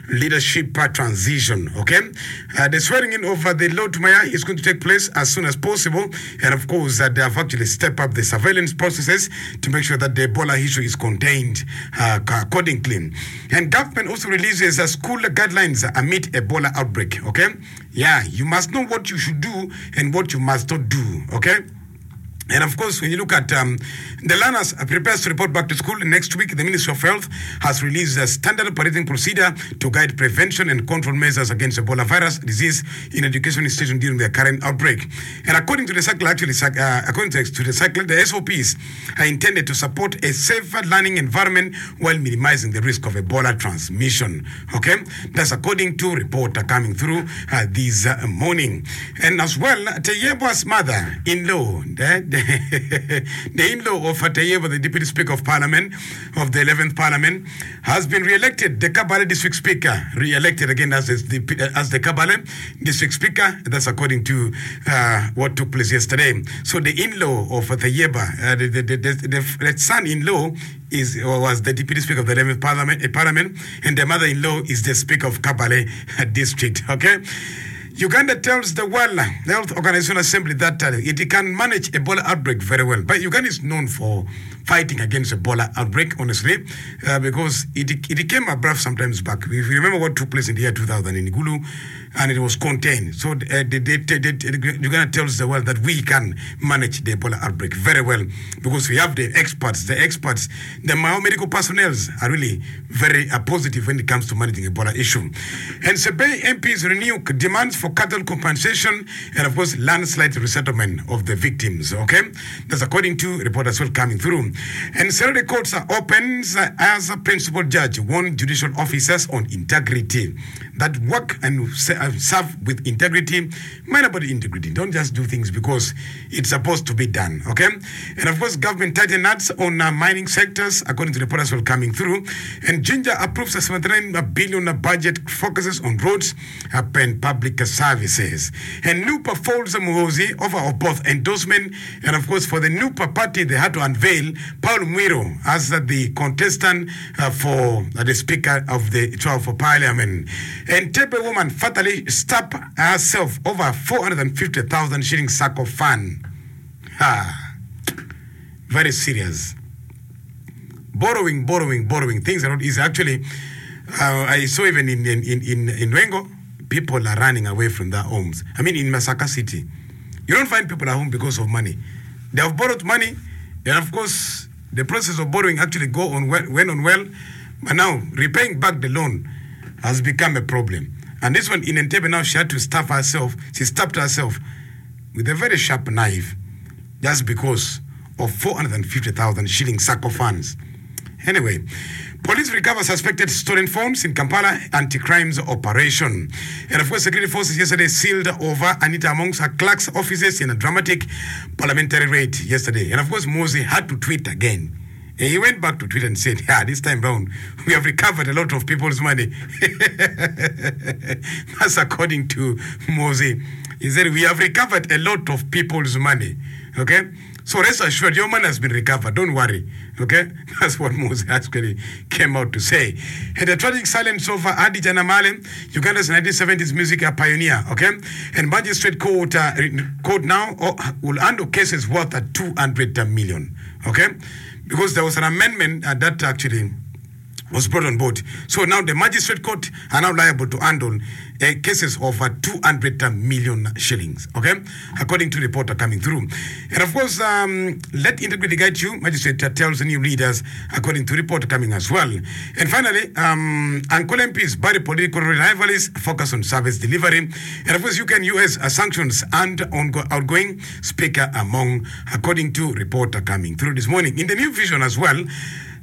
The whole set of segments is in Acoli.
leadership transition. Okay, the swearing in of the Lord Mayor is going to take place as soon as possible, and of course they have actually stepped up the surveillance processes to make sure that the Ebola issue is contained accordingly. And government also releases school guidelines amid Ebola outbreak. Okay, yeah, you must know what you should do and what you must not do. Okay. And of course, when you look at um, the learners prepares to report back to school next week, the Ministry of Health has released a standard operating procedure to guide prevention and control measures against Ebola virus disease in education institutions during the current outbreak. And according to the cycle, actually, uh, according to, to the cycle, the SOPs are intended to support a safer learning environment while minimizing the risk of Ebola transmission. Okay, that's according to report coming through uh, this uh, morning. And as well, Tayebwa's mother-in-law, the, the, the in-law of Tayebwa, the Deputy Speaker of Parliament of the 11th Parliament, has been re-elected the Kabale District Speaker, re-elected again as the, as the Kabale District Speaker. That's according to uh, what took place yesterday. So the in-law of Tayebwa, uh, the, the, the, the, the son-in-law is, was the Deputy Speaker of the 11th Parliament, uh, Parliament and the mother-in-law is the Speaker of Kabale District. Okay? Uganda tells the World Health Organization Assembly that uh, it can manage Ebola outbreak very well. But Uganda is known for fighting against Ebola outbreak, honestly, uh, because it, it came abrupt sometimes back. If you remember what took place in the year 2000 in Gulu, and it was contained. So uh, the, the, the, the, Uganda tells the world that we can manage the Ebola outbreak very well because we have the experts. The experts, the medical personnel are really very uh, positive when it comes to managing Ebola issue. And Sebei MPs renew demands for cattle compensation and of course landslide resettlement of the victims. Okay, that's according to report as well coming through. And Saturday courts are opens as a principal judge warned judicial officers on integrity that work and serve with integrity. Mind about integrity. Don't just do things because it's supposed to be done. Okay, and of course government tighten nuts on uh, mining sectors according to the report as well coming through. And Ginger approves a 79 billion budget focuses on roads and public services. And NUPA folds Muhoozi offer of both endorsement and of course for the NUPA party they had to unveil Paul Mwiru as the contestant uh, for the Speaker of the 12th Parliament. Entebbe woman fatally stabbed herself over 450,000 shilling sack of fund. Ha. Very serious. Borrowing, borrowing, borrowing. Things are not easy. Actually, uh, I saw even in, in, in, in, in Lwengo, people are running away from their homes. I mean, in Masaka City. You don't find people at home because of money. They have borrowed money, and of course, the process of borrowing actually go on well, went on well, but now repaying back the loan has become a problem. And this one in Entebbe now, she had to stab herself. She stabbed herself with a very sharp knife just because of 450,000 shilling sacco funds. Anyway, police recover suspected stolen phones in Kampala anti-crimes operation. And of course, security forces yesterday sealed over Anita Among's her clerk's offices in a dramatic parliamentary raid yesterday. And of course, Muhoozi had to tweet again. And he went back to tweet and said, yeah, this time round, we have recovered a lot of people's money. That's according to Muhoozi. He said, we have recovered a lot of people's money. Okay? So rest assured, your money has been recovered. Don't worry. Okay? That's what Muhoozi actually came out to say. And the tragic silence of Hadijah Namale, Uganda's 1970s music pioneer. Okay? And magistrate court, uh, court now oh, will handle cases worth at 200 million. Okay? Because there was an amendment uh, that actually was brought on board. So now the magistrate court are now liable to handle uh, cases of uh, 200 million shillings, okay? According to reporter coming through. And of course, um, let integrity guide you, magistrate uh, tells the new leaders, according to report coming as well. And finally, um, Ankole MPs bury political rivalries, focus on service delivery. And of course, UK and US uh, sanctions and ongo- outgoing speaker among, according to reporter coming through this morning. In the new vision as well,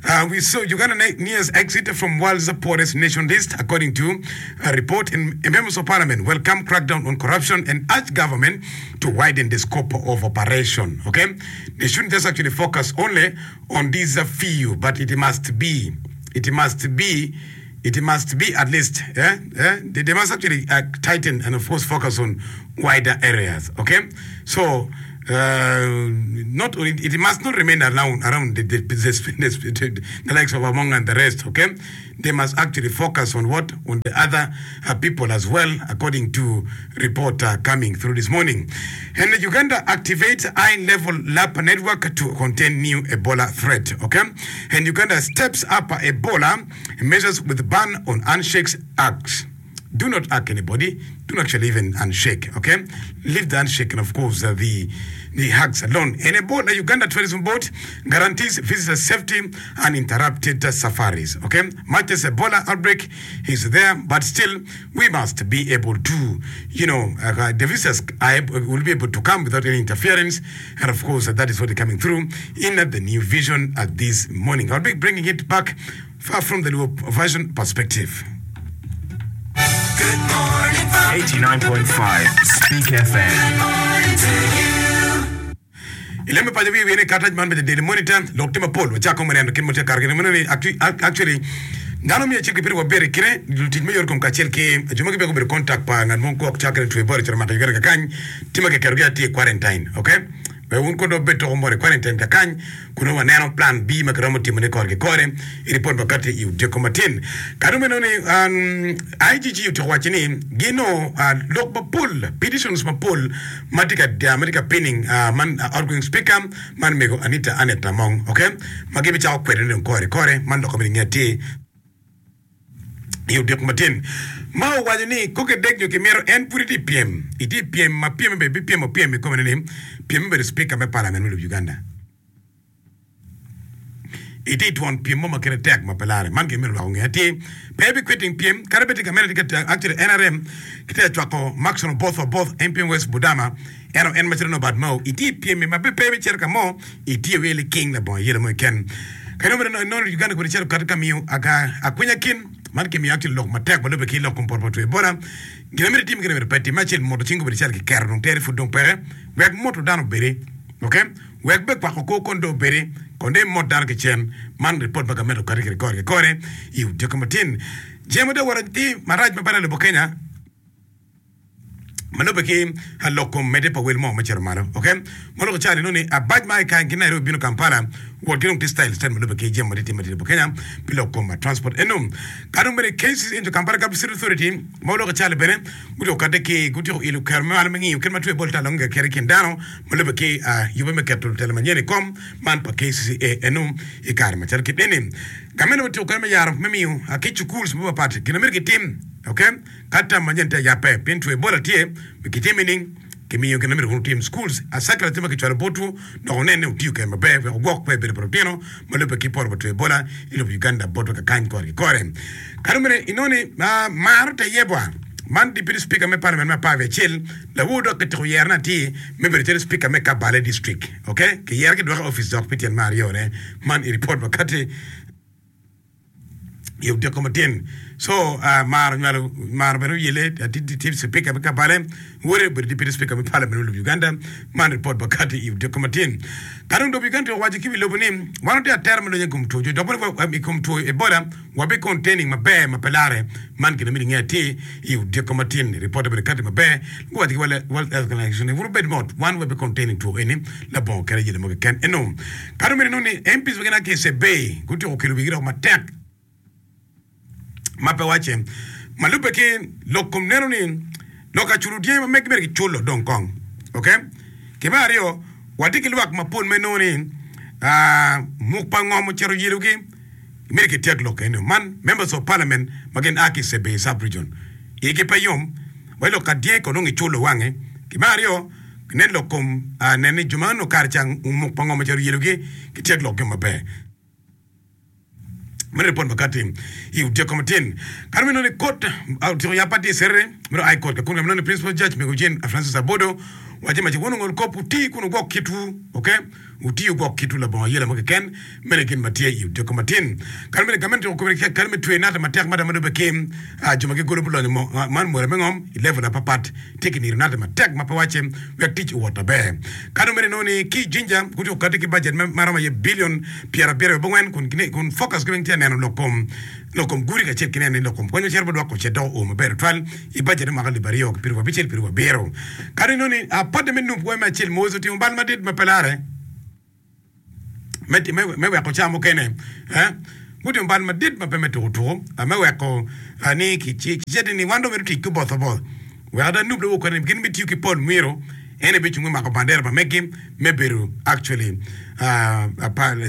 Uh, we saw Uganda nears exit from world's poorest nation list, according to a report in, in members of parliament welcome crackdown on corruption and urge government to widen the scope of operation. Okay, they shouldn't just actually focus only on these few, but it must be, it must be, it must be at least, eh, eh, they, they must actually uh, tighten and of course focus on wider areas. Okay, so. Not it must not remain around around the, the, the, the, the likes of Among and the rest, okay? They must actually focus on what? On the other uh, people as well, according to report uh, coming through this morning. And Uganda activates high-level lab network to contain new Ebola threat, okay? And Uganda steps up Ebola measures with ban on handshakes acts. Do not hug anybody, do not actually even handshake, okay? Leave the handshake and of course uh, the the hugs alone. And Ebola Uganda Tourism Board guarantees visitors safety and interrupted uh, safaris, okay? Much as Ebola outbreak is there, but still we must be able to, you know, uh, the visitors are able, will be able to come without any interference. And of course, uh, that is what is coming through in uh, the new vision at this morning. I'll be bringing it back far from the Luo version perspective. 89.5 Speak FM. I lemme paco wiye wiye ni karatac man me The Daily Monitor lok tye mapol wacako me neno kit ma tye ka kare kede meno ni actually dano miyo cik gipito wabedo i kine lutic me yot kom kacel ki jo ma gibedo gubedo contact pa ngat mo gwok cakre two Ebola ocito mako Uganda kakany tye ma kiketogi atir i quarantine ok Wek wun kong dong wubed toko mot i quarantine kakany kun nongo waneno plan B ma kiromo timone kore ki kore i ripot ma kati i odiko matin. Ka dong inongo ni IGG otyeko waco ni ginongo lok mapol, petitions mapol ma tye ka ma tye ka pinning man outgoing speaker man mego Anita Annet Among ok ma gibicako kwedone dong kore ki kore man lok ma myero inge atir. I odiko matin, ma owaco ni koko edek nyo kimito en pud itye i pyem. Itye i pyem ma pyemme bene bipyemo pyem i kome ni pyemme obedo cipika me palament me lobo Uganda. Itye i twon pyem mo ma kite tek ma pe lare. Man gin myero lwak onge atir. Pe ebikwiting pyem kadi bed tye gamente tye ka actually NRM kitye ka cwako Maxon Oboth Oboth MP West Budama ento en macalo Norbert Mao itye i pyem-mi ma pe ibicito ka mo Itiyo iye liking labongo ayela mo keken. Kadi obedo ni inongo Uganda kwede cito kati ka miyo akwinya kin, man kimiyo actually lok matek ma lube ki lok kom poto pa two Ebola. Gin ma myero itim gire myero pe itim. Me acel moto cing obedo calo kiketo dong tere pud dong peke. Wek moto dano obedi. Ok? Wek be kwako kor kono dong obedi. Kono dong imot dano ki cen. Man ripot ma gamente okati kwede kore ki kore i odiko matin. Jemo dong owoto atir marac ma bene lobo Kenya. Ma lubbe ki lok kom medde pa wel moo me cito malo ok ma loko calo inongo ni abac ma i ki Nairobi bino Kampala wot ki dong tye style style ma lubbe ki jami ma tye timme i lobo Kenya pi lok kom transport eno ka dong bene KCC into Kampala Capital City Authority ma oloko calo bene gutyeko kade ki gutyeko ilo kero me malo me ngiyo kit ma two Ebola tye alonge kede i kin dano ma lubbe ki yubbe me keto lutela manyen i kom man pa KCCA eno i kare macalo kit eni gamente otyeko kero me yaro me miyo ki cukuls mapapat gin ma myero gitim ok. Ka tam manyen tye ayabbe pien two Ebola tye, kitime nining? Kimiyo gin ma myero wun wutim. Schools, Circular tye ma kicwalo botwu dok wunen ni wutiyo kwede maber wek wugwok kwer bedo pa lutino ma lubbe ki poto pa two Ebola i lobo Uganda botwa kakany kore ki kore. Ka dong bene inongo ni maro Tayebwa man Deputy Speaker me Parliament me 11 lawor dok kityeko yerone atir me bedo calo Speaker me Kabale District. Ok, kiyere kidwoke i opic dok pi tyen me aryone. Man i ripot ma kati. I odiko matin so mar onywalo mar bene oyele tye cipika me Kabale wode obedo deputy speaker me parliament me lobo Uganda man ripot pa kati i odiko matin. Ka dong lobo Uganda owaco ki wi lobo ni wan watye atera me lweny i kom two dok bene i kom two Ebola wabi containing maber ma pe lare man gin ma myero inge atir i odiko matin ripot obedo kati maber guwaco ki World Health Organization ni wun wubed mot wan wabi containing two eni labongo kadi ayela mo keken eno Ka dong myero inong ni MPs ma gin a ki i Sebei gutyeko kelo wigi dok matek ma pe wacce ma lubbe ki lok kom neno ni lok aculo dyangi ma megi myero giculo dong kong ok ki me aryo watye ki lwak mapol ma inongo ni muk pa ngom ocito oyelogi myero kityek lok eno man members of parliament ma gin a ki i Sebei sub region igi pe yom wa lok ka dyangi kono dong giculo wange ki me aryo Nen lok kom nen ni jo ma onongo kare ca muk pa ngom ocito yelogi gityek lokgi maber. Meno ripot ma kati i odyeko matin. Kare meno ni kot otyeko yab atir Serere meno High Court ka kun meno ni Principal Judge Mego Jane Francis Abodo waco maci wun ongol kop wuti kun wugwok kitwu ok. Wutiyo gwok kitwu labongo ayela mo keken. Meno gin ma tye i odiko matin. Kadi bed gamente okobo ni kadi me tweyo nate matek mada ma lubbe ki jo ma gigolo bulonyo mo man mwere me ngom i level apapat tye ki niro nate matek ma pe wacce wek tic owot maber. Kadi omedde nongo ni ki i Jinja gutyeko kati ki bajet ma romo aye billion pyerabiro abongwen kun kun focus gi weng tye ka neno lok kom lok kom gudi kacel ki neno ni lok kom kony ma cito bot lwak ocit dok oo maber tutwal i bajet me mwaka alip aryo ki pyerabicel pyerabiro. Kadi nongo ni apote me nup wai me acel Moses otimo bal madit ma pe lare. me weko ca mukene gutimo bal madit ma pe me tuko tuko me weko ni kiciti ni wan dong mito tic ki oboth oboth wek ada nub dong okone gin bitiyo ki Paul Mwiro en aye bicung me mako bandera pa megi me bedo actually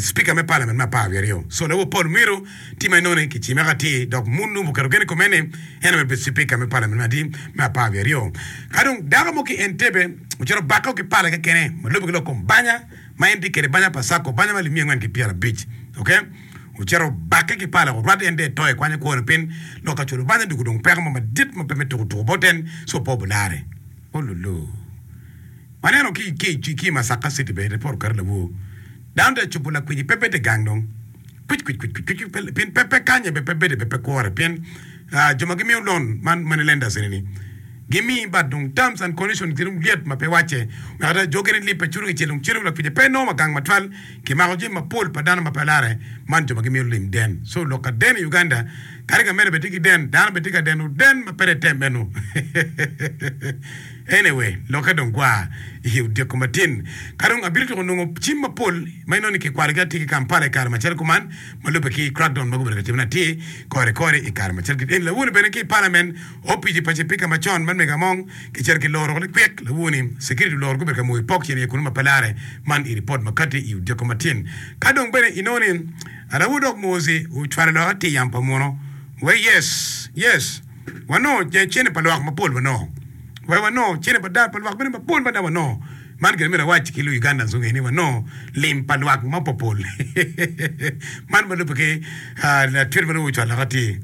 speaker me parliament me 12 so lawor Paul Mwiro tye ma inongo ni kicime ka atir dok mun nub oketo gen i kome ni en aye bedo speaker me parliament me adi me 12 ka dong dako mo ki Entebbe ocito obako ki pala kekene ma lube ki lok kom banya ma en tye kwede banya pa Sacco, banya ma alip 450, ok, ocito obakke ki pala orwatte en dong eto ekwanyo kwone piny lok ka culo banya dwogo dong peko mo madit ma pe me tuko tuko bot en ci opo bulare ololo waneno ki ki ki i Masaka city bene ripot oketo lawor dano tye ka cubo lakwiji pe bede gang dong kwic kwic kwic kwic kwic pien pe pe kanye bene pe bede bene pe kwore pien jo ma gimiyo loan man money lenders eni ni Gimiyi but dong terms and conditions gi dong lyet ma pe wacce. Wek ada jo gini lipe curo kicel dong cito lapice pe nongo wa gang matwal. Kimako jami mapol pa dano ma pe lare man jo ma gimito lim den. So lok ka den i Uganda kadi gamene bene tye ki den dano bene tye ka deno den ma pe tem eno. Anyway lokke dong gwa i odiko matin. Ka dong abiro tyeko nongo cim mapol ma inongo ni kikwalogi atir ki Kampala i kare macalo kuman ma lubbe ki crackdown ma gubedo ka timone atir kore kore i kare macalo kit eni. Lawoni bene ki i parliament Opici pa cipika macon man mego Among kicito ki loro likwik lawoni security oloro gubedo ka moyo pok cen iye kunu ma pe lare man i ripot ma kati i odiko matin. Ka dong bene inongo ni Raul dok Mozi ocwalo lok atir yam pa muno we yes yes wanongo cene pa lwak mapol wanongo we wanongo cene pa pa lwak bene mapol mada wanongo man gin myero awac ki lu Ugandans gunge ni wanongo lim pa lwak mapopol man ma lube ki latwit ma nongo ocwalo lok atir.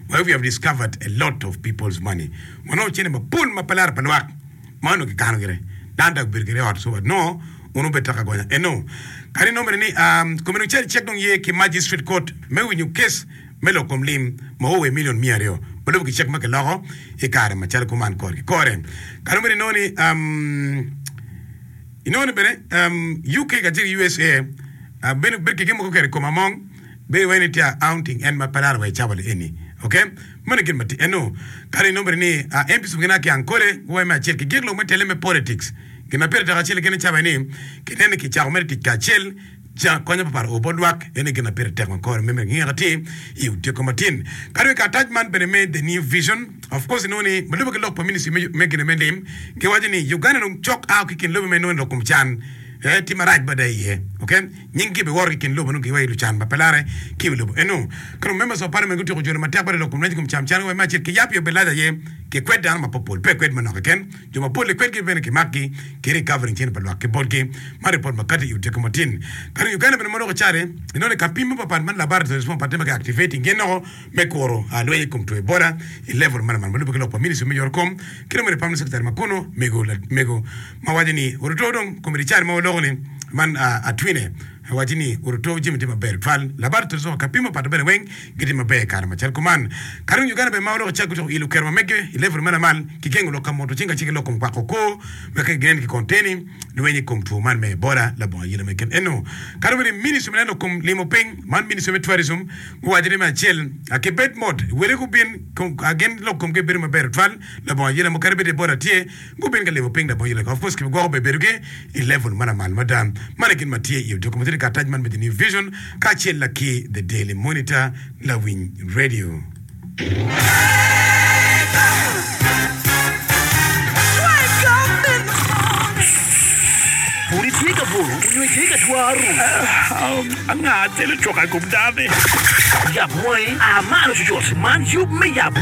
Where we have discovered a lot of people's money. Wanongo cene mapol ma pe laro pa lwak ma onongo kikano gire. Dano dok obedo gire i ot so wanongo onongo bedo tek agonya. Eno kadi inongo bene ni um, komiti ocel cek dong ye ki magistrate court me winyo case me lok kom lim ma oo wa i million 200 ma lubo ki cek ma kiloko i kare macalo kuman kore ki kore. Kadi bene inongo ni um, inongo ni bene um, UK kacel ki USA uh, bene bedo ki gin mogo keto i kom among Bedo wai ni tye aunting en ma pe laro wa i cawa li eni. Ok? Meno gin ma tye eno. Kadi inongo bene ni MPs mogo gina ki Ankole guwai me acel ki gik lok me tele me politics. Gin ma pire tek acel keken i cawa eni kinen ni kicako mere tic kacel ca konyo pa par o bot lwak ene gin ma pire tek ma kore me mere ngika tye i odiko matin. Kadi wa i karatac man bene me The New Vision of course inongo ni ma lube ki lok pa ministry me gine me lim giwaco ni Uganda dong cok ao ki kin lobe ma inongo ni lok kom can tye marac mada iye. Ok? Nyinggi biworo ki i kin lobo nongo giwayo lucan ma pe larre ki i wi lobo eno. Ka dong members of parliament gutyeko jolo matek bene lok kom lweny i kom cam can wai me acel ki yap i obed lac aye ki kwed dano mapopol pe kwed manok keken jo mapol i kwedgi bene ki makgi ki recovering cente pa lwak ki botgi ma report ma kati i odiko matin. Ka dong Uganda bene ma loko cari inongo ni ka pim mapapat man laboratories mapat tye ma ki activating gin noko me kuro lweny i kom two Ebola i level ma lamal ma lube ki lok pa ministry me yot kom ki dong bene permanent secretary ma kono mego mego ma waco ni oruto dong komiti cari ma waloko ni man Atwine waco ni oruto jami tye maber tutwal laboratories wa ka pimo pato bene weng gitye maber i kare macal kuman ka dong Uganda bene ma waloko cak gutyeko ilo kero ma mege i level ma lamal ki gengo lok ka moto cing kacel ki lok kom kwako kor wek ka ginen ki konteni lweny i kom two man me Ebola labongo ayela mo keken eno ka dong bene ministry ma neno lok kom limo piny man ministry me tourism Guwaco ni me acel, Kibed mot, wele gubin, gin lok komgi bedo maber tutwal, labongo ayela mo kadi bed Ebola tye, gubin ka limo piny labongo ayela. Of course kibigwoko ber bedogi i level ma lamal mada. Man aye gin ma tye i odiko ma tye i karatac man me The New Vision kacel ki The Daily Monitor, Lawiny Radio. Pud itye ka buto onyo itye ka twaro? Anga telo coka i kom dano-ni? Yab wangi, a malo cucut! Man yub me yabo.